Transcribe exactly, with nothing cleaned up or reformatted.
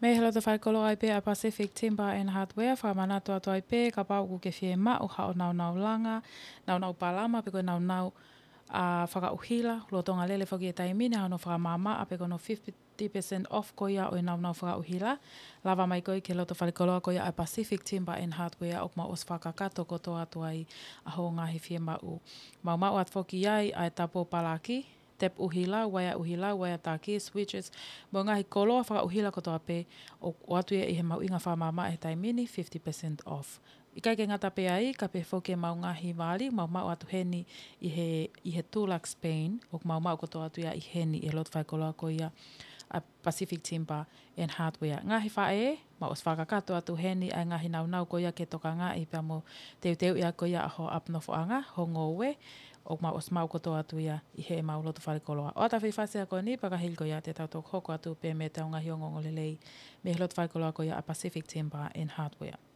Mei he loto faikoloa ai pē ʻa Pacific Timber and Hardware, fakamanatu atu ai pē, kapau ʻoku ke fiemaʻu haʻo naunau langa, naunau palama, pe ko e naunau ʻa fakaʻuhila, lolotonga lele foki e taimi ni, haʻo fakamaama, pe ko hono fifty percent off ko ia ʻo e naunau fakaʻuhila. Lava mai koe ki he loto faikoloa ko ia ʻa Pacific Timber and Hardware, ʻoku mau ʻosi fakakakato kotoa atu ai ʻa hoʻo ngaahi fiemaʻu. Mau maʻu atu foki ai ʻa e tapo palaki, tep ʻuhila, uaea ʻuhila, uaea taki, switches, mo e ngaahi koloa fakaʻuhila kotoa pē, ʻoku ʻoatu ia ʻi he mahuʻinga fakamaama he taimi ni, fifty percent off. ʻIkai ke ngata pē ai, ka pehē foki e mau ngaahi vali, mau maʻu atu heni ʻi he, ʻi he Dulux Paint, ʻoku mau maʻu kotoa atu ia ʻi heni ʻi he loto faikoloa ko ia ʻa Pacific Timber and Hardware. Ngaahi faʻē, mau ʻosi fakakakato atu heni ʻa e ngaahi naunau ko ia ke tokangaʻi pea mo teuteuʻi ʻaki ko ia ʻa hoʻo ʻapi nofoʻanga, hoʻo ngoue, ʻoku mau ʻosi maʻu kotoa atu ia ʻi he mau loto faikoloa. ʻOatu ʻa e faifasi ko eni, pea ka hili ko ia te tau toki hoko atu pē mei heʻetau ngaahi ongoongolelei mei he loto faikoloa ko ia ʻa Pacific Timber and Hardware.